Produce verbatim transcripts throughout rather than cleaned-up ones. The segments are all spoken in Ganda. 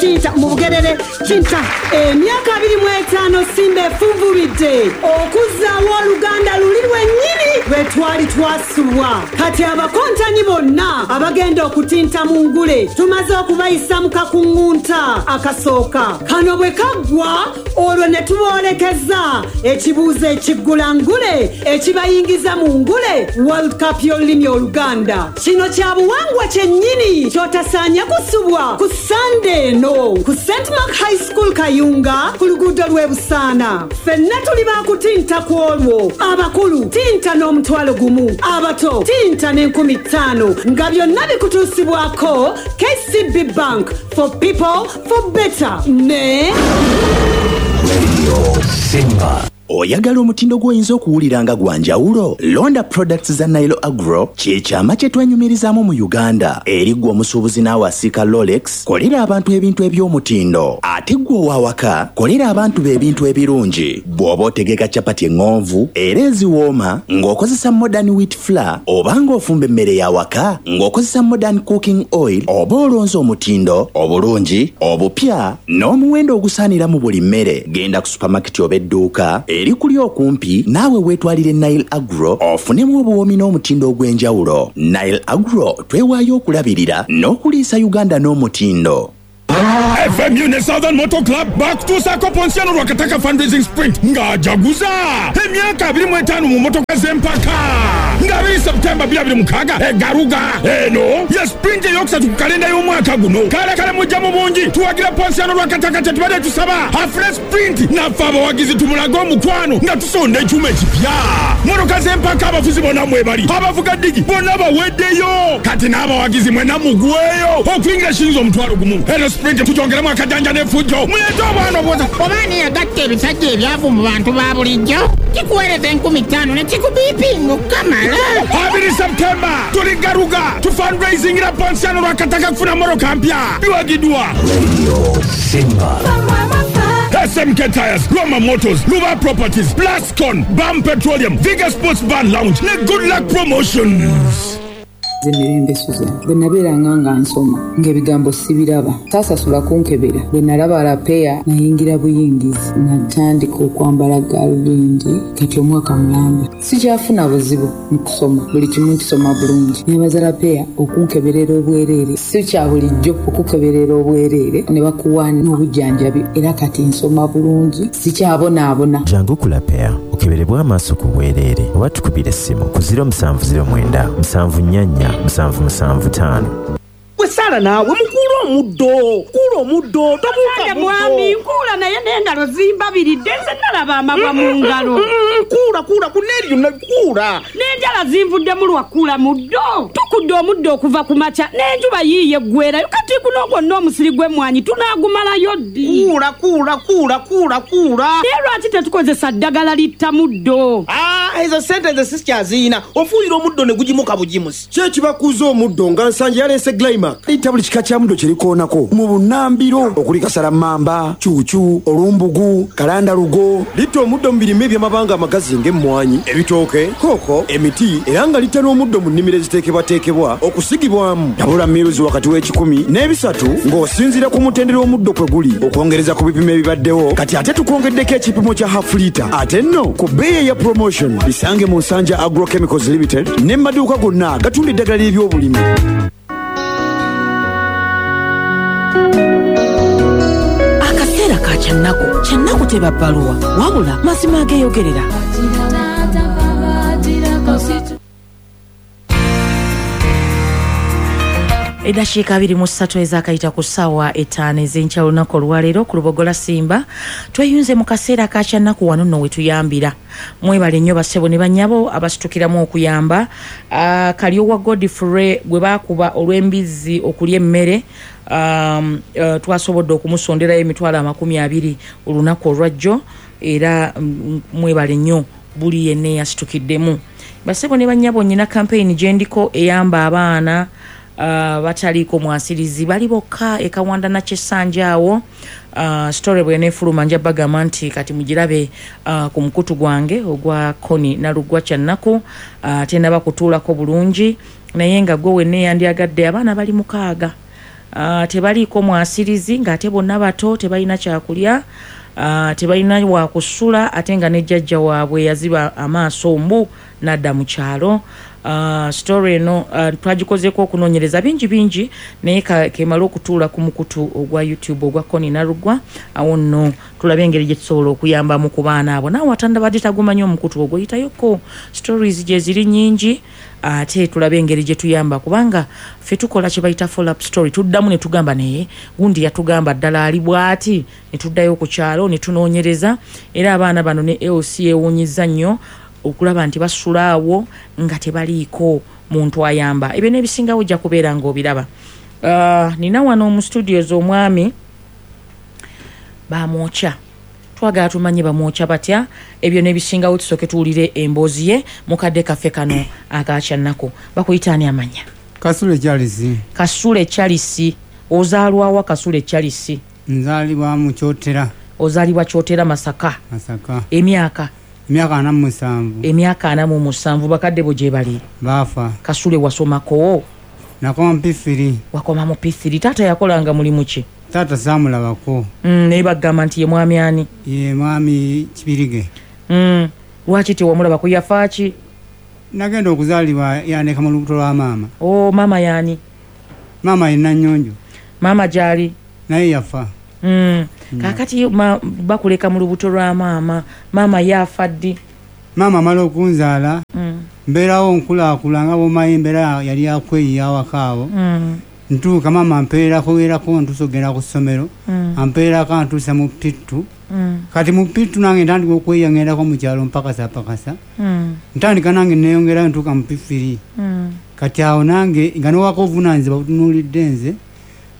Tinta mu Bugerere, tinta. Emyaka abiri mu etaano Simba efunvubidde okuzzaawo Oluganda luli lwennyini lwe twali twasubwa. Kati abakontanyi bonna abagenda okutinta mu ngule tumaze okubayisa mu kakuŋŋunta akasooka. Kano bwe kaggwa olwo ne tuboolekeza ekibuuzo ekiggula ngule ekibayingiza mu ngule World Cup y'olulimi Oluganda. Kino kya buwangwa kyennyini ky'otasaanye kusubwa ku Sande eno ku Saint Mark High School Kayunga ku luguudo lw'e Busaana. Ffenna tuli baakutinta ku olwo. Abakulu tinta n'omutwalo gumu, abato tinta n'enkumi ttaano, nga byonna bikutuusibwako K C B Bank, for people for better ne Radio Simba. Oyagala omutindo gw'oyinza okuwulira nga gwa njawulo? Londa products za Nile Agro, kye kyama kye twenyumirizaamu mu Uganda. Eri ggwe omusuubuzi naawe asiika Rolex, kolera abantu ebintu eby'omutindo. Ate ggwe ow'awaka, kolera abantu be ebintu ebirungi. Bw'oba otegeka chapati eŋŋonvu era eziwooma ng'okozesa modern wheat flour, oba ng'ofumba emmere y'awaka ng'okozesa modern cooking oil, oba olonze omutindo, obulungi, obupya n'omuwendo ogusaanira mu buli mmere. Genda ku supermarket oba edduuka eri kuli okumpi naawe weetwalire Nile Agro ofunemu obuwoomi n'omutindo ogw'enjawulo. Nile Agro twewaayo okulabirira n'okuliisa Uganda n'omutindo. F M U ne Southern Motor Club bakutuusaako Ponsiano Lwakataka fundraising sprint ng'ajaguza emyaka abiri mu etaano mu motoka z'empaka nga abiri September bbiri abiri mukaaga egaruga. Eno ye sprint eyokusatu ku kalenda y'omwaka guno. Kale kale mujja mu bungi tuwagira Ponsiano Lwakataka kye tubadde tusaba afune sprint naffe abawagizi tumulage omukwano nga tusonda ekyuma ekipya. Motoka z'empaka abafuzi bonna mwebali, abavuga ddigi bonna baweddeyo, kati n'abawagizi mwenna mugweyo okuyingira shilingi omutwalo gumu. Eno sprint tujongeremu akajanja n'effujjo muleete obwana obwoza. Oba yagatta ebisajja ebyavu mu bantu ba bulijjo kikuweereza enkumi ttaano ne kikubiipinga okukamala. Abiri September tuli Garuga tu fundraisingira Ponsiano Lwakataka kufuna motoka mpya biwagiddwa Radio Simba. S M K Tires, Roma Motors, Luva Properties, Plascon, Bam Petroleum, Viga Sports Bar Lounge ne Good Luck Promotions. Emirembe Susan, bwe nabeeranga nga nsoma ng'ebigambo sibiraba, saasasula kunkebera. Bwe nalaba Lapeya nayingira buyingizi, natandika okwambala gaalubindi kati omwaka mulamba. Sikyafuna buzibu mu kusoma, buli kimu nkisoma bulungi. Nebaza Lapeya okunkeberera obwereere, si kya bulijjo okukeberera obwereere ne bakuwa n'obujjanjabi, era kati nsoma bulungi, sikyabonaabona. Jangu ku Lapeya okeberebwe amaaso ku bwereere oba tukubire essimu ku ziro musanvu ziro mwenda musanvu nnya nnya musanvu musanvu ttaano. Wesala naawe mukuula omuddo, kuula omuddo, tobuuka muddo. Mwami nkuula naye n'engalo zimbabiridde, nze nalaba amabwa mu ngalo. Kuula kuula kuneeri yonna kuula. N'enjala zinvuddemu lwa kuula muddo. Tukudde omuddo okuva ku makya n'enjuba yiiye eggwerayo, kati guno gwonna omusiri gw'emmwanyi tunaagumalayo ddi? Kuula kuula kuula kuula kuula. Naye lwaki tetukozesa ddagala litta muddo? Ah, ezo ssente nze sikyaziyina, ofuuyira omuddo ne gugimuka bugimusi. Ki ekibakuuza omuddo nga Nsanja yaleese Glymac? Litta buli kika kya muddo kye likoonako mu bunnambiro okuli kasalammamba, cuucu, olumbugu, kalandalugo. Litta omuddo mu birime eby'amabanga amagazi ng'emmwanyi, ebitooke, kooko, emiti, era nga litta n'omuddo mu nnimiro eziteekebwateekebwa okusigibwamu. Tabula miruzi wakati w'ekikumi n'ebisatu ng'osinziira ku mutendera omuddo kwe guli okwongereza ku bipimo ebibaddewo. Kati ate tukwongeddeko ekipimo kya half litre, ate nno ku bbeeyi eya promotion. Bisange mu Nsanja Agrochemicals Limited ne mu maduuka gonna agatunda eddagala ly'ebyobulimi. Akaseera ka kyannaku, kyannaku teba bbaluwa, wabula mazima ageeyogerera. Eddakiika abiri mu ssatu ezaakayita ku ssaawa etaano ez'enkya olunaku olwaleero ku Lubogola Simba tweyunze mu kaseera ka kyannaku wano nno we tuyambira. Mwebale nnyo bassebo ne bannyabo abasitukiramu okuyamba. Uh, Kalyowa Godfrey gwe baakuba olw'embizzi okulya emmere, um, uh, twasobodde okumusonderayo emitwalo amakumi abiri olunaku olwajjo, era um, mwebale nnyo buli yenna eyasitukiddemu. Bassebo ne bannyabo nnyina campaign gye ndiko eyamba abaana Uh, bataliiko mwasirizi bali bokka e Kawanda na Kyessanja awo. Uh, story bw'eneefuluma nja bagamba nti kati mugirabe uh, ku mukutu gwange ogwa Koni Nalugwa Kyannaku. uh, Tennaba kutuulako bulungi, naye nga gwe wenna eyandyagadde abaana bali mukaaga. Uh, tebaliiko mwasirizi ng'ate bonna bato, tebalina kyakulya, uh, tebalina wakusula, ate nga ne jjajja waabwe yaziba amaaso mbu n'adda mu kyalo. Uh, story eno uh, twagikozeeko okunoonyereza bingi bingi, naye kemala okutuula ku mukutu ogwa YouTube ogwa Connie Nalugwa, awo nno tulabe engeri gye tusobola okuyambamu ku baana abo. Naawe atandabadde tagumanyi omukutu ogwo, yitayoko, stories gye ziri nnyingi, ate tulabe engeri gye tuyamba, kubanga ffe tukola kye bayita follow up story, tuddamu ne tugamba naye gundi yatugamba ddala ali bw'ati, ne tuddayo ku kyalo ne tunoonyereza. Era abaana bano ne L C ewuunyizza nnyo okulaba nti basula awo nga tebaliiko muntu ayamba. Ebyo n'ebisingawo ojja kubeera ng'obiraba. Uh, nina wano mu studios omwami bamwokya, twagala tumanye bamwokya batya. Ebyo n'ebisingawo tusooke tuwulire emboozi ye mukadde kaffe kano akakyannaku. Bakuyita ani amanya? Kasule Charles. Kasule Charles, ozaalwawa Kasule Charles? Nzaalibwa mu Kyotera. Ozaalibwa Kyotera, Masaka. Masaka. Emyaka? Emyaka ana mu musanvu. Emyaka ana mu musanvu. Bakadde bo gye bali? Baafa. Kasule wasomako? Nakoma mu P three. Wakoma mu P three. Taata yakolanga mulimu ki? Taata saamulabako. Mm, naye bagamba nti ye mwami ani? Ye mwami Kibirige. Mm, lwaki tewamulabako? Yafa ki? Nagenda okuzaalibwa yandeka mu lubuto lwa maama. Oh, maama yaani? Maama ye Nannyonjo. Maama gy'ali? Naye yafa. Mm. Kaakati ma, bakuleka mu lubuto lwa maama, maama yafa ddi? Maama amala okunzaala, mm. mbeerawo nkulaakula nga bw'omanyi embeera yali yakweyiya awaka awo. Mm. Ntuuka maama ampeerako erako ntuusa okugenda ku ssomero, mm. ampeerako antuusa mu P two. Mm. Kati mu P two nange ntandika okweyiya ngendako mu kyalo mpakasa pakasa. Mm. Ntandika nange neeyongerayo ntuuka mu P three. Mm. Kati awo nange nga nowaka obuvunaanyizibwa butunuulidde nze,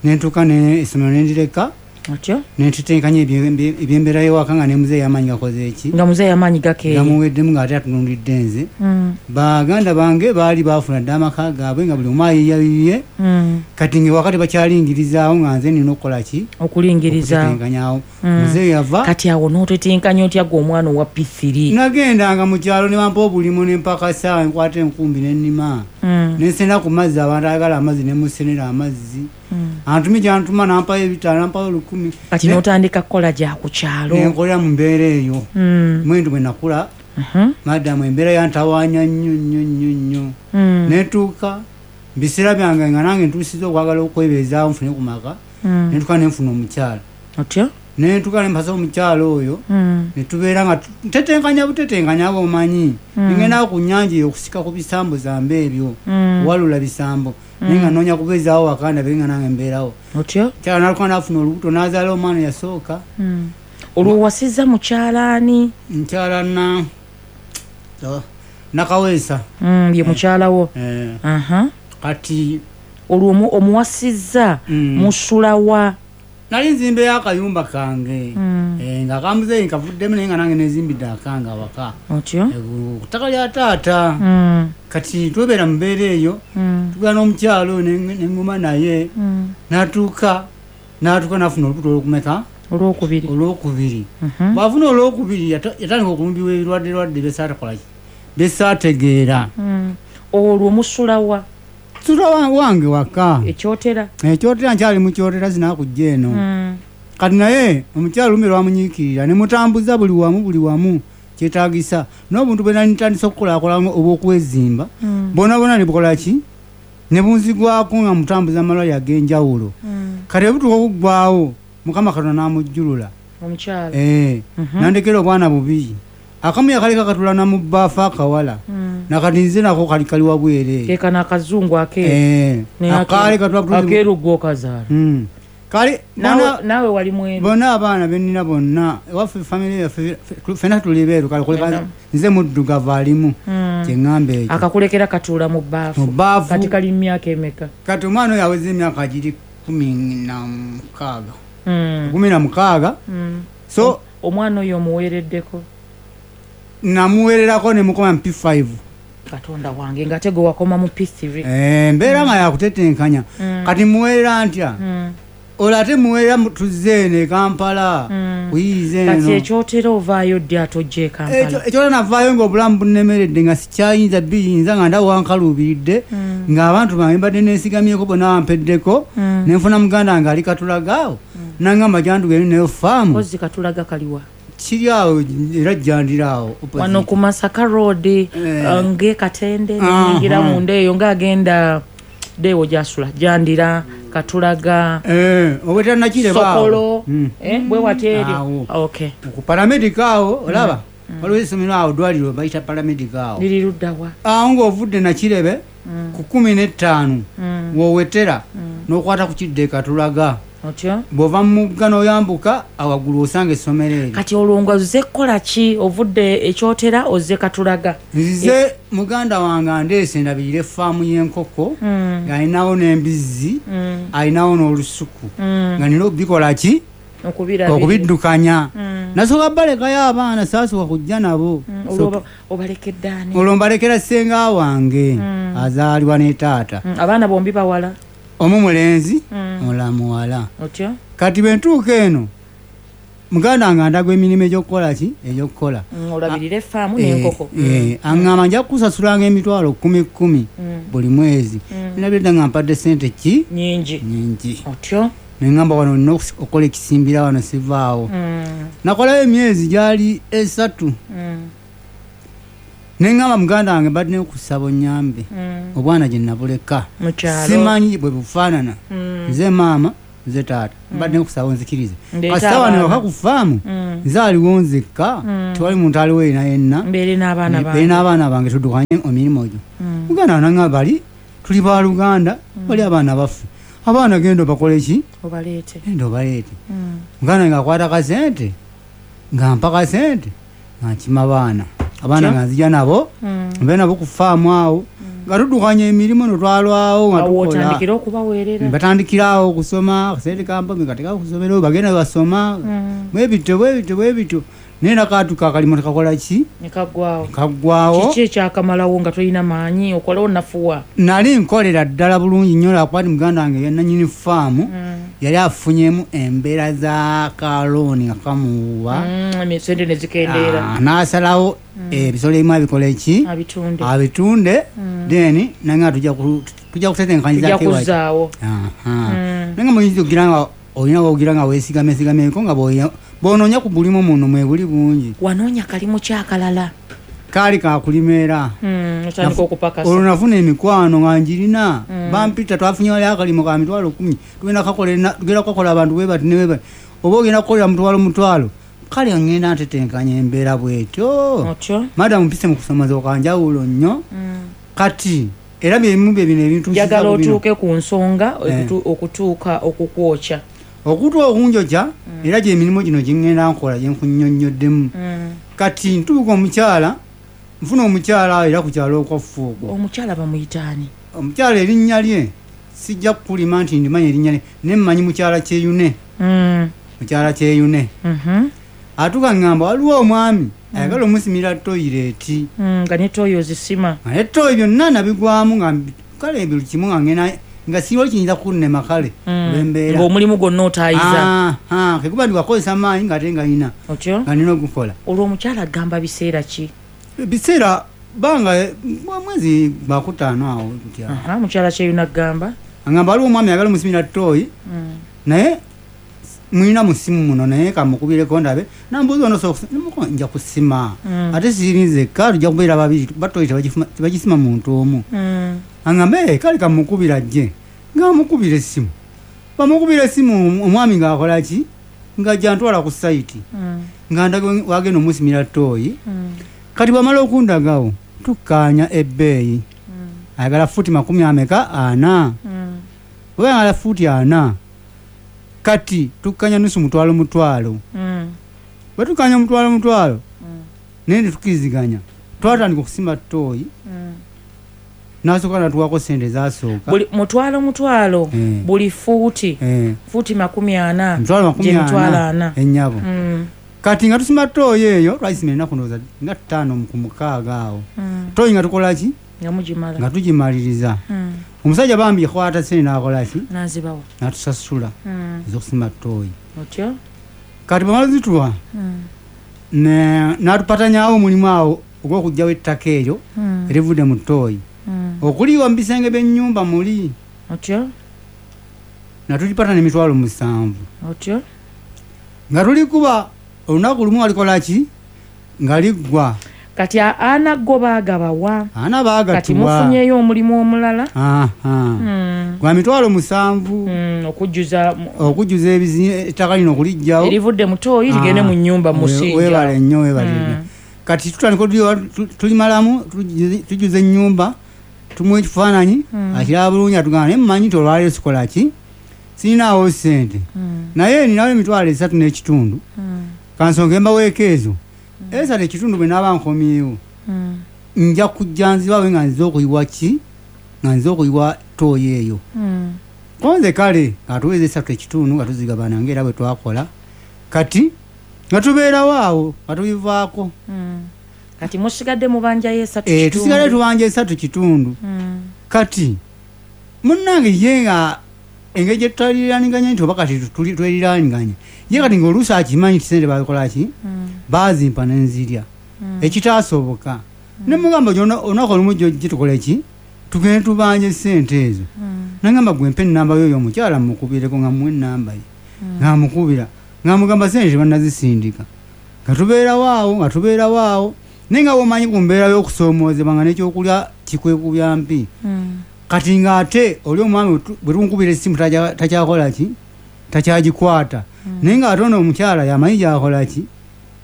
ne ntuuka essomero ne ndireka. Otyo? Nentetenkanya ebyembeera y'ewaka nga ne muzeeyi amaanyi gakoze eki? Nga muzeeyi amaanyi gakeeye. Gamuweddemu ng'ate atunuulidde nze. Mm. Baganda bange baali baafuna dda amaka gaabwe nga buli omu ayiiya bibye. Mm. Kati ng'ewaka tebakyalingirizaawo nga nze nina okukola ki? Okulingirizaawo. Okutetenkanyaawo. Mm. Muzeeyi yava. Kati awo n'otetenkanya otya ggwe omwana owa P three? Nagendanga mu kyalo ne bampa obulimu ne mpakasa, nkwata enkumbi ne nnima. Mm. Ne nsena ku mazzi, abantu ayagala amazzi ne musenera amazzi. Mm. Antumi gyantuma nampayo ebitaano, nampayo olukumi. Kati n'otandika kukola gya ku kyalo. Ne nkolera mu mbeera eyo. Mm. Mwendu bwe nakula, uh-huh. madamu embeera yantawaanya nnyo nnyo nnyo nnyo. Mm. Ne ntuuka mu biseera byange nga nange ntuusizza okwagala okwebeezaawo nfune ku maka, Mm. ne ntuuka ne nfuna omukyala. Otyo? Ne ntuuka ne mpasa omukyala oyo, Mm. ne tubeera nga ntetenkanya butetenkanya bw'omanyi. Mm. Ngendawo ku nnyanja eyo okusika ku bisambo zambe ebyo, Mm. walula bisambo. Mm. Naye nga nnoonya kubeezaawo waka ndabe nga nange mbeerawo. Otyo? Mukyala n'alyoka n'afuna olubuto n'azaala omwana eyasooka. Mm. Olwo wasizza mukyala ani? Mukyala na Nakaweesa. Mm, ye mukyala wo. Eh. Aha. Kati olwo omuwasizza mm. musula wa? Nali nzimbeyo akayumba kange. Mm. Eh, nga kamuzeeyi nkavuddemu naye nga nange nezimbidde akange awaka. Otyo? Eh, ku ttaka lya taata. Mm. Kati twebeera mu mbeera eyo, mm. tugenda n'omukyala oyo ne ŋŋuma naye, mm. n'atuuka n'atuuka n'afuna olubuto olwokumeka? Olwokubiri. Olwokubiri. Mm-hmm. Bw'afuna olwokubiri yatandika okulumbibwa ebirwadde lwadde bye saatakola ki? Bye saategeera. Mm. Olwo musula wa? Nsula wange waka. Ekyotera? Ekyotera nkyali mu Kyotera sinakujja eno. Mm. Kati naye omukyala olumbe lwamunyiikirira ne mutambuza buli wamu buli wamu kyetaagisa n'obuntu bwe nali ntandise okukolaakola obw'okwezimba, Mm. bwonna bwonna ne bukola ki? Ne bunzigwako nga mutambuza amalwaliro ag'enjawulo. Mm. Kati obutuuka okuggwawo Mukama Katonda n'amujjulula. Omukyala. Eh, mm-hmm. nandekera obwana bubiri. Akamu yakaleka katula na mu bbaafu akawala. Mm. Nakati nze nako kali kali wabwereere. Ke kano akazungu akeeru. Eh, akaali katula akeeru gwe okazaala. Mm. Kale naawe naawe wali mweru. Bonna abaana be nnina bonna ewaffe famire yaffe ffenna tuli beeru, kale kuleka nze muddugavu alimu. Mm. Kye ŋŋamba ekyo. Akakulekera katuula mu bbaafu. Mu bbaafu. Kati kali mu myaka emeka? Kati omwana oyo aweza emyaka giri kumi na mukaaga. Mm. Kumi na mukaaga. Mm. So omwana oyo omuweereddeko? Namuweererako ne mukoma mu P five. Katonda wange ng'ate gwe wakoma mu P three. Eh, mbeera nga yakutetenkanya. Mm. Kati muweerera ntya? Mm. Olwo ate muweerera tuzze eno e Kampala. Mm. Ku Okuyiiza eno. Kati ekyotera ovaayo ddi ate ojja e Kampala? Ekyotera navaayo ng'obulamu bunnemeredde, nga sikyayinza biyinza, nga ndawo wankaluubiridde, ng'abantu bange mbadde neesigamyeko bonna bampeddeko, ne nfuna muganda wange ali Katulaga awo, nangamba jandugende nayo faamu. Kozzi Katulaga kaliwa? Kiri awo era jjandira awo opposite. Wano ku Masaka Road, ng'e Katende, neyingira munda eyo ng'agenda deewo gyasula, Jandira, Katulaga, obwetera Nakireba awo. Sokolo, bwe wati eri. Okay. Ku paramedic awo olaba waliwo essomero awo, ddwaliro bayita paramedic awo. Liri ludda wa? Awo ng'ovudde Nakirebe ku kkumi n'ettaano w'owetera n'okwata ku kidda e Katulaga. Otyo? Bw'ova mu mugga n'oyambuka awaggulu osanga essomero eryo. Kati olwo nga ozze kukola ki? Ovudde ekyotera ozze Katulaga? Nzize muganda wange andeese ndabirire faamu y'enkoko, ng'alinawo n'embizzi, alinawo n'olusuku, nga nina okubikola ki? Okubiddukanya. Nasooka balekayo abaana, saasooka kujja nabo. Obalekedde ani? Olwo mbalekera ssenga wange azaalibwa ne taata. Abaana bombi bawala? Omu mulenzi, omulala muwala. Otyo? Kati bwe ntuuka eno, muganda wange andaga emirimu egy'okukola ki? Egy'okukola. Olabirire faamu n'enkoko. Aŋŋamba nja kukusasulanga emitwalo kkumi kkumi buli mwezi. Nabirira nga mpadde ssente ki? Nnyingi. Nnyingi. Otyo? Ne ŋŋamba wano nina okukola ekisimbira wano sivaawo. Nakolayo emyezi gyali esatu. Ne ŋŋamba muganda wange mbadde nkusaba onnyambe. Obwana gye nabuleka. Simanyi bwe bufaanana. Nze maama, nze taata. Mbadde nkusaba onzikirize. Kasita wano ewaka ku faamu, nze aliwo nzekka, tewali muntu aliwo yenna yenna. Mbeere n'abaana bange. Mbeere n'abaana bange tuddukanye emirimu egyo. Muganda wange n'aŋŋamba bali tuli baluganda, bali abaana baffe. Abaana genda obakole ki? Obaleete. Genda obaleete. Muganda wange akwata kasente, nga mpa kasente, nga nkima baana. Abaana nga nzija nabo, mbeere nabo ku faamu awo, nga tuddukanya emirimu no twalwawo nga tukola. Otandikira okubaweerera. Batandikira awo okusoma, akasente kampa kateeka ku ssomero, bagenda basoma. Bwe bityo, bwe bityo, bwe bityo. Naye nakaatuka akalimu tekakola ki? Ne kaggwawo. Kaggwawo. Kiki ekyakamalawo nga tolina maanyi, okola onafuwa? Nali nkolera ddala bulungi nnyo lwakuba nti muganda wange yannannyini faamu yali afunyemu embeera za kalooni nga kamuwa. Sente ne zikendeera. N'asalawo ebisolo ebimu abikole ki? Abitunde. Abitunde, then nange tujja tujja kutetenkanyizako. Tujja kuzzaawo. Naye nga muyinza okugira nga olina wogira nga weesigamesigamyeko nga bw'onoonya ku bulimu muno mwebuli bungi. Wanoonya kalimu ki akalala? Kaali kakulima era. Otandika okupakasa. Olwo nafuna emikwano nga njirina. Bampita twafunye wali akalimo ka mitwalo kkumi. Tugenda kukakola abantu bwe bati ne bwe bati. Oba ogenda kukolera mutwalo mutwalo. Kale ngenda ntetenkanya embeera bw'etyo. Otyo? Madamu mpise mu kusomooza kwa njawulo nnyo. Kati era bye bimu bye bino ebintu njagala otuuke ku nsonga okutuuka okukwokya. Okutuuka okunjokya era gy'emirimu gino gye ŋŋenda nkola gye nkunnyonnyoddemu. Kati ntuuka omukyala, nfuna omukyala era ku kyalo okwaffe okwo. Omukyala bamuyita ani? Omukyala erinnya lye sijja kukulima nti ndimanya erinnya lye, naye mmanyi mukyala Kyeyune. Mukyala Kyeyune. Atuuka ŋŋamba waliwo omwami ayagala omusimira toyireeti. Nga ne ttooyi ozisima. Nga ne ttooyi byonna nabigwamu nga kale buli kimu nga ŋŋenda nga siriwo kiyinza kunnema kale olw'embeera. Ng'omulimu gwonna otaayiza. Kwe kuba ndi wakozesa amaanyi ng'ate nga nina. Otyo? Nga nina ogukola. Olwo omukyala agamba biseera ki? Biseera banga mwezi gwakutaano awo gutya. Mukyala Kyeyune agamba? Agamba waliwo omwami ayagala omusimira ttooyi naye mulina musimu muno naye kamukubireko ndabe nambuuza ono soka nja kusima. Ate siri nzekka tujja kubeera babiri kuba ttooyi tebagisima muntu omu. Aŋŋamba kale kamukubira ajje. Ng'amukubira essimu. Bamukubira essimu omwami ng'akola ki? Ng'ajja antwala ku sayiti. Nga ndaga wagenda omusimira ttooyi. Kati bw'amala okundagawo tukkaanya ebbeeyi. Ayagala fuuti makumi ameka? Ana. Bw'aba ayagala fuuti ana, kati tukkanya nusu mutwalo mutwalo. Bwe tukkanya mutwalo mutwalo, naye ne tukkiriziganya. Twatandika okusima ttooyi. N'asooka n'atuwaako ssente ezasooka. Buli mutwalo mutwalo, buli fuuti, fuuti makumi ana, Mitwalo makumi ana. Ennyabo. Kati nga tusima ttooyi eyo, twagisima ennaku ndowooza nga ttaano ku mukaaga awo. Ttooyi nga tukola ki? Nga mugimala. Nga tugimaliriza. Omusajja bambi yakwata ssente n'akola ki? N'azibawa. N'atusasula ez'okusima ttooyi. Otyo? Kati bamala zituwa Mm. ne natupatanyawo omulimu awo ogw'okugyawo ettaka eryo Mm. erivudde mu ttooyi Mm. okuliwa mu bisenge by'ennyumba muli. Otyo. Natulipatana emitwalo musanvu. Otyo. Nga tulikuba olunaku lumu alikola ki nga liggwa. Kati a- ana go baagabawa? Ana Kati baagatuwa. mufunyeyo omulimu omulala? Aha. Mm. Gwa mitwalo musanvu. Mm, okujjuza mu- okujjuza ebizi- ettaka lino okuliggyawo erivudde mu ttooyi ligende mu nnyumba Ah, we- musinja. Weebale nnyo, weebale Mm. nnyo. Kati tutandika otuliwa- tu- tulimalamu, tujuze- tujuza ennyumba, tumuwa ekifaananyi. Mm. Akiraba bulungi, atugamba naye mumanyi nti olwaleero sikola ki, sirinaawo ssente, Mm. naye ninawo emitwalo esatu n'ekitundu. Mm. Kansonge mbaweeko ezo esatu ekitundu, bwe naaba nkomyewo Mm. nja kujja nzibawe nga nzize okuyiwa ki, nga nzize okuyiwa ttooyi eyo. Mm. Konze kale nga tuweza esatu ekitundu nga tuzigabana ngaera bwe twakola. Kati nga tubeerawo awo nga tubivaako. Mm. Kati musigadde mubanjayo esatu Eh, kitundu. tusigale tubanja esatu kitundu. Mm. Kati munnange ye nga engeri gye tutaliraniganya nti oba kati tuli- tweriraniganya, ye kati ngaoluusi akimanyi nti sente bakola ki, Mm. baazimpa nenzirya, ekitaasoboka. Nemugamba gyona olunaku olumu jojje tukole ki, tugende tubanje sente ezo. Mm. Nagamba gwe mpa enamba yoyo omukyala mukubireko, nga muwa enamba ye, nga mukubira nga mugamba sente tebannazisindika. Nga tubeerawo awo, nga tubeerawo awo, naye nga womanyi ku mbeera y'okusoomoozebwa nga n'ekyokulya kikwekubya mpi. Mm. Kati ng'ate oli omwami bwe tu- bwe tumukubira essimu takya- takyakola ki, takyagikwata, naye ng'ate ono omukyala yamanyi gyakola ki,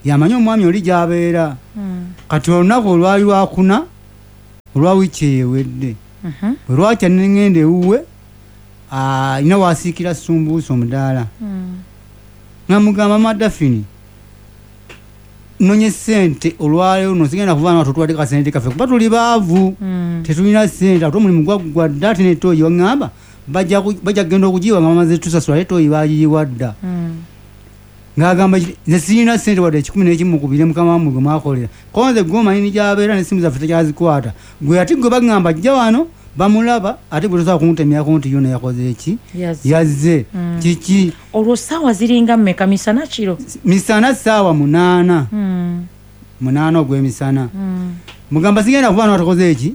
yamanyi omwami oli gy'abeera. Mm. Kati olunaku olwali lwakuna olwa wiiki eyo ewedde, Mhm. bwe lwakya neŋŋenda ewuwe, alina wasiikira sumbuusa omudaala. Mm. Nga mugamba madafini nonye sente olwaleero no sigenda kuva nga totwadde kasente kaffe kuba tuli baavu, Mm. tetulina sente, ate omulimu gwaggwa dda, ate netooyi waŋŋamba bajja ku- bajja kugenda okugiyiwa nga bamaze tusasula, ate tooyi bagiyiwa dda. Mm. Ng'agamba ki- nze sirina sente wadde ekikumi n'ekimu, mukubire mukama wammwe gwe mwakolera, konze gwe omanyi nigyabeera n'essimu zaffe tekyazikwata, gwe ate gwe baŋŋamba jja wano bamulaba, ate gwe tosobola kuntemyako nti yona yakoze eki. Yazze. Yazze. Mm. Kiki. Olwo saawa ziringa mmeka, misana kiro? Misana saawa munaana. Mm. Munaana ogw'emisana. Mm. Mugamba sigenda kuva wano watakoze eki,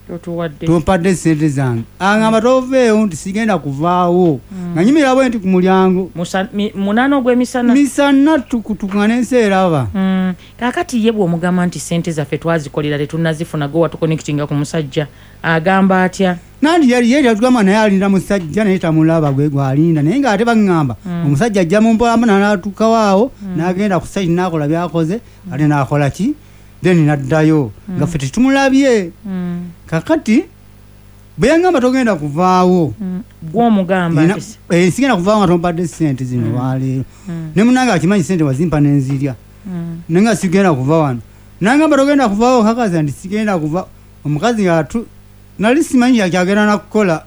totuwadde. tompadde sente zange. Aŋŋamba toveewo, nti sigenda kuvaawo, nga nyimira bwe nti ku mulyango. Musa- mi- munaana ogw'emisana. Misana tukutuku nga n'ensi eraba. Mm. Kaakati ye bw'omugamba nti sente zaffe twazikolera tetunnazifuna, gwe watuconnectinga ku musajja, agamba atya? Nanti yali yali yatugamba naye alinda musajja naye tamulaba, gwe gwalinda, naye ng'ate baŋŋamba omusajja ajja mu mpolampola n'atuukawo awo n'agenda ku site n'akola byakoze, ate n'akola ki, then n'addayo nga ffe tetumulabye. Mm. Kakati bwe yaŋŋamba togenda kuvaawo, Mm. Gw'omugamba Nina- nti si- eh, sigenda kuvaawo nga tompadde sente zino olwaleero, ne munange akimanyi sente wazimpa nenzirya, Mm. naye nga sigenda kuva wano. Nangamba togenda kuvaawo, kakazi nti sigenda kuva. Omukazi ngaatu nali simanyi kyagenda nakukola.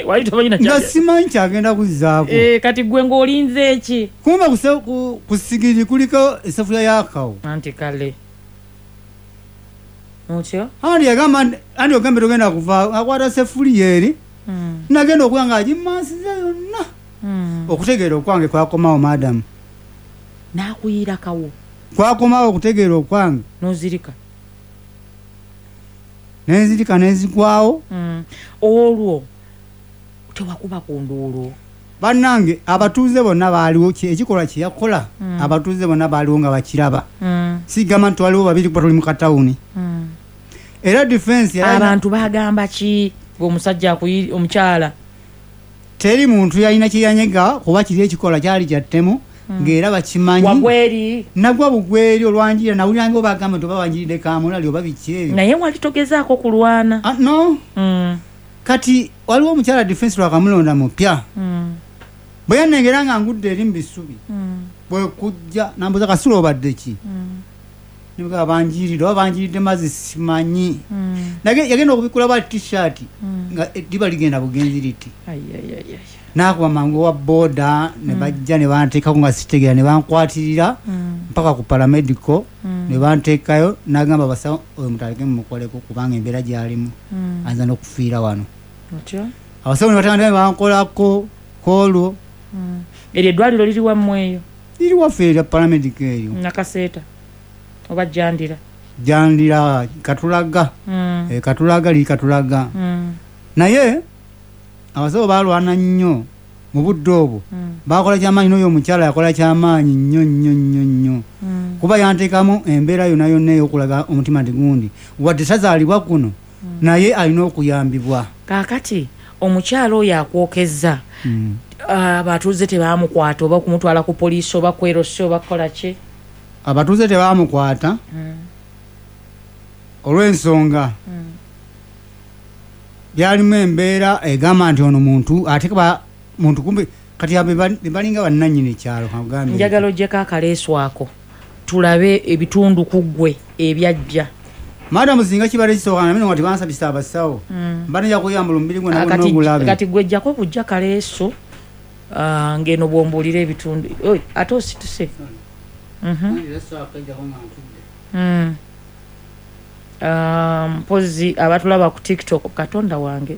Wali tomanyi na Nga kyagenda. simanyi kyagenda kuzzaako. Eh, kati gwe ng'olinze eki? Kumba kuse- ku- ku sigiri kuliko esafuya yakawo. Anti kale otyo. Anti yagamba nti- anti ogambe togenda kuvaawo, akwata sefuliya eri, Mm. nagenda okuba nga agimansiza yonna. Mm. Okutegeera okwange kwakomawo madamu. N'akuyirakawo. Kwakomawo okutegeera okwange. N'ozirika. Nenzirika nenzigwawo. Mm. Olwo tewakuba ku nduulu? Bannange abatuuze bonna baaliwo, ki- ekikolwa kye yakola, Mm. abatuuze bonna baaliwo nga bakiraba. Mm. Sigamba nti waliwo babiri kuba tuli mu katawuni. Mm. Era defense yalina- Abantu bagamba ki ng'omusajja akuyi omukyala? Teri muntu yalina kyeyanyega kuba kiri ekikolwa kyali kya ttemu, ng'era bakimanyi. Wagweri? Nagwa bugweri olwanjira, nawuliranga obagamba nti oba wanjiridde kamulali oba biki ebyo. Naye wali togezaako kulwana? Ah, no. Mm. Kati waliwo omukyala defense lwakamulonda mupya, Mm. bwe yanengera nga ngudde eri mu bisubi, Mm. bwe kujja nambuza kasula obadde ki, Mm. nebagamba banjiridde oba banjiridde mazzi simanyi. Mm. Nage- yagenda okubikula ba t-shirt nga eddiba ligenda bugenzi liti. Ai, ai, ai, ai. Nakuba mangu wa boda ne bajja ne banteekako nga sitegeera, ne bankwatirira Mm. mpaka ku paramedical, Mm. ne banteekayo, nagamba basawo oyo mutaleke mumukoleko kubanga embeera gyalimu Mm. ayinza n'okufiira wano. Otyo. Abasawo ne batandika ne bankolako kwolwo. Mm. Eryo eddwaliro liri wammwe eyo? Liri waffe erya paramedic eyo. Nakaseeta oba Jandira? Jandira, Katulaga. Mm. E, Katulaga liri Katulaga. Mm. Naye abasawo balwana nnyo mu budde obwo. Mm. Bakola kyamaanyi, n'oyo omukyala yakola kyamaanyi nnyo nnyo nnyo nnyo. Mm. Kuba yanteekamu embeera yonna yonna ey'okulaga omutima nti gundi wadde tazaalibwa kuno, Mm. naye alina okuyambibwa. Kaakati omukyala oyo akwokezza, Mm. abatuuze tebamukwata oba kumutwala ku poliisi oba kwerosi oba kukola ki? Abatuuze tebamukwata Mm. olw'ensonga Mm. byalimu embeera egamba nti ono muntu ate ba muntu kumbe kati abe balinga bannannyini kyalo kagambe. Njagala oggyeko akaleesu ako tulabe ebitundu ku ggwe ebyajja. Madamu singa kibadde kisooka na bino nga tebansabisa abasawo, Mm. mba nja kuyambula omubiri gwonna Ah, gwonna kati- ogulabe. Kati gwe jjako kujja kaleesu, ah, ng'eno bw'ombuulira ebitundu. Oi, ate osituse. Mhm. Mm. Ah, mpozi abatulaba ku TikTok, Katonda wange,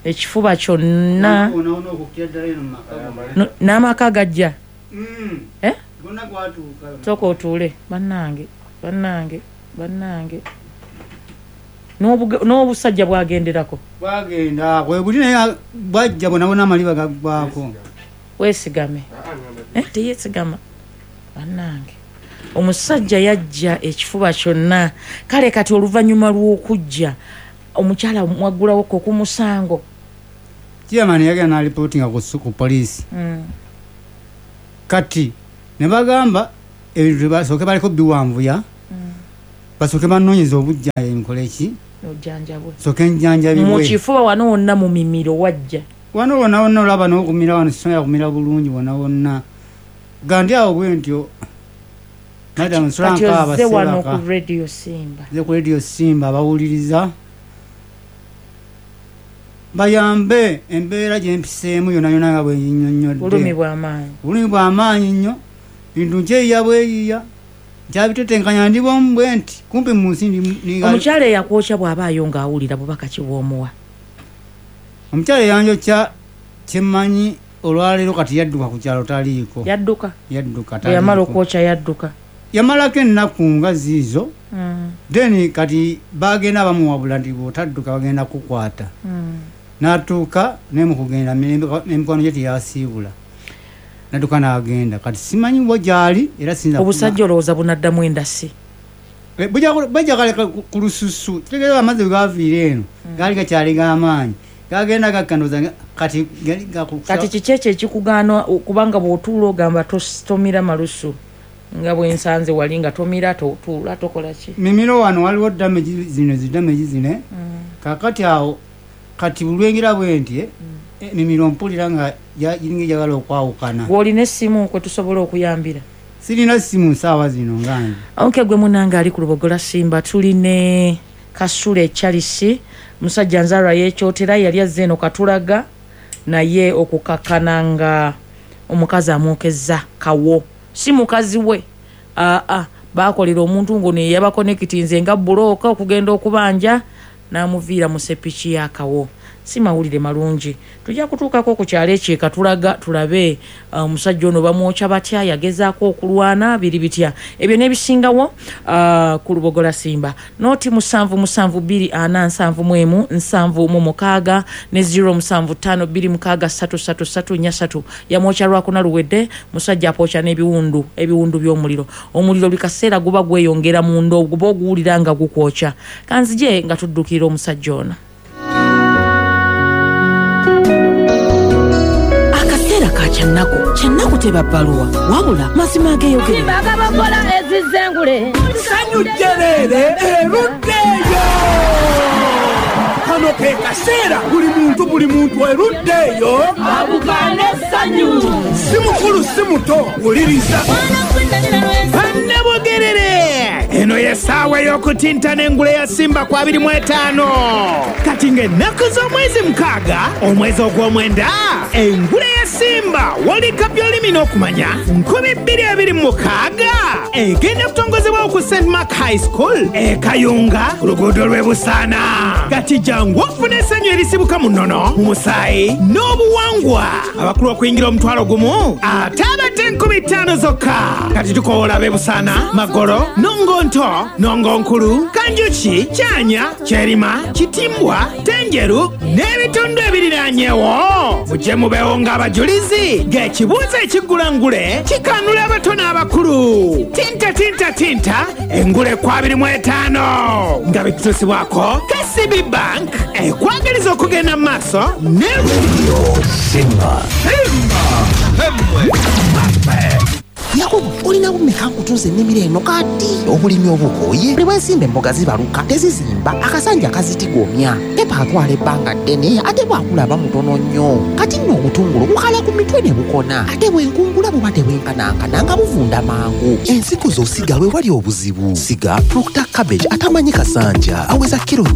ekifuba kyonna No, n'amaka gajja. Eh? Sooka otuule, bannange, bannange, bannange. N'obuge-, n'obusajja bwagenderako. Bwagenda, bwe buli naye bwajja bwonna bwonna amaliba gaggwako. Weesigame. Eh, teyeesigama. Bannange. Omusajja yajja ekifuba kyonna. Kale kati oluvannyuma lw'okujja, omukyala mwaggulawo ko ku musango. Chairman yagenda n'alipootinga ku su-, ku poliisi. Mm. Kati ne bagamba ebintu basooke baliko biwanvuya. Mm. Basooke banoonyeze obujja nkole ki? Ojjanjabwe. Sooke njjanjabibwe. Mu kifuba wano wonna mu mimiro wajja. Wano wonna wonna olaba n'okumira wano sisobola kumira bulungi wonna wonna. Gandi awo bwe ntyo. Madam Kati nsula nkaaba ozze wano sebaka. ku Radio Simba. Nze ku Radio Simba abawuliriza bayambe embeera gye mpiseemu yonna yonna nga bwe nnyonnyodde. Bulumi bw'amaanyi. Bulumi bw'amaanyi nnyo. Bintu nkyeyiya bweyiya. Nkyabitetenkanya ndi bwomu bwe nti kumpi mu nsi ndi mu-, ninga- Omukyala eyakwokya bw'abaayo ng'awulira bubaka ki bw'omuwa? Omukyala eyanjokya kyemmanyi olwaleero kati yadduka ku kyalo taliiko. Yadduka? Yadduka, Bwe yamala taliiko. okwokya yadduka. Yamalako ennaku nga ziizo. Mm. Then kati bagenda bamuwabula nti bw'otadduka bagenda kukwata. Mm. N'atuuka naye mu kugenda n'emikono gye teyasiibula. N'adduka n'agenda. Kati simanyi wa gy'ali era siyinza kuma- Obusajja olowooza bunaddamu endasi? Eh, bujja ku-, bujja kaleka ku-, ku lususu. Kitegeeza amazzi bwe gaviira eno, Mm. gaali gakyali g'amaanyi. Gagenda gakkanduza nga kati gali gakukusa- Kati kiki ekyo ekikugaana kubanga bw'otuula ogamba tos-, tomira malusu? Nga bwe nsanze wali nga tomira, totuula, tokola ki? Mimiro wano waliwo damage zino, zi damage zino. Mm. Kaakati awo, kati bulwengera bwe nti, eh, Mm. emimiro mpulira nga ya-, giringa ejagala okwawukana. Gw'olina essimu kwe tusobola okuyambira? Sirina ssimu nsaawa zino nga nze. Okay, gwe munnange ali ku Lubogola Simba, tuli ne Kasule Charles, musajja nzaalwa y'Ekyotera, yali azze eno Katulaga, naye okukakkana nga omukazi amwokezza kawo. Si mukazi we. Aa, baakolera omuntu ng'ono ye yabakonekitinze nga bbulooka okugenda okubanja, n'amuviira mu ssepiki y'akawo. Si mawulire malungi. Tujja kutuukako ku kyalo ekyo e Katulaga tulabe, uh, omusajja ono bamwokya batya, yagezaako okulwana, biri bitya. Ebyo n'ebisingawo, uh, ku Lubogola Simba. Nooti musanvu musanvu bbiri ana nsanvu mu emu, nsanvu mu mukaaga, ne zero musanvu ttaano bbiri mukaaga ssatu ssatu ssatu nnya ssatu. Yamwokya Lwakuna luwedde, musajja apokya n'ebiwundu, ebiwundu by'omuliro. Omuliro buli kaseera guba gweyongera munda, guba oguwulira nga gukwokya. Kanzije nga tuddukira omusajja ono. Akaseera ka kyannaku, kyannaku teba bbaluwa, wabula mazima ageeyogera. Simba agabakola ezizengule. Ssanyu jjereere eruddeeyo. Kano ke kaseera buli muntu buli muntu eruddeeyo. Abukaane essanyu. Si mukulu si muto, wuliriza. Bannabugerere. Eno Eno y'essaawa ey'okutinta n'engule ya Simba ku abiri mu etaano. Kati ng'ennaku z'omwezi mukaaga, omwezi ogw'omwenda, engule ya Simba World Cup y'olulimi n'okumanya nkumi bbiri abiri mu mukaaga egenda kutongozebwawo ku Saint Mark High School e Kayunga ku luguudo lw'e Busaana. Kati jangu ofune essanyu erisibuka mu nnono, mu musaayi n'obuwangwa. Abakulu okuyingira omutwalo gumu ate abato enkumi ttaano zokka. Kati tukoola ab'e Busaana, Magolo, Nongonto, Nongonkulu, Kanjuki, Kyanya, Kyerima, Kitimbwa, Tenjeru n'ebitundu ebiriraanyewo. Mujje mubeewo ng'abajulizi ng'ekibuuzo ekiggula ngule kikanula abato n'abakulu. Tinta tinta tinta engule ku abiri mu etaano nga bituusibwako K C B Bank ekwagaliza okugenda mu maaso ne Radio Simba. Simba. Yakobo, olina bumeka nkutunze ennimiro eno kati obulimi obukooye buli bwensimba emboga zibaluka tezizimba akasanja kazitigomya pepa atwala ebbanga ddene ate bwakulaba mutono nnyo kati nno obutungulu bukala ku mitwe ne bukona ate bwenkungula buba tebwenkanankana nga buvunda mangu. Ensigo z'osiga we wali obuzibu. Siga Proctor cabbage atamanyi kasanja aweza kiro nnya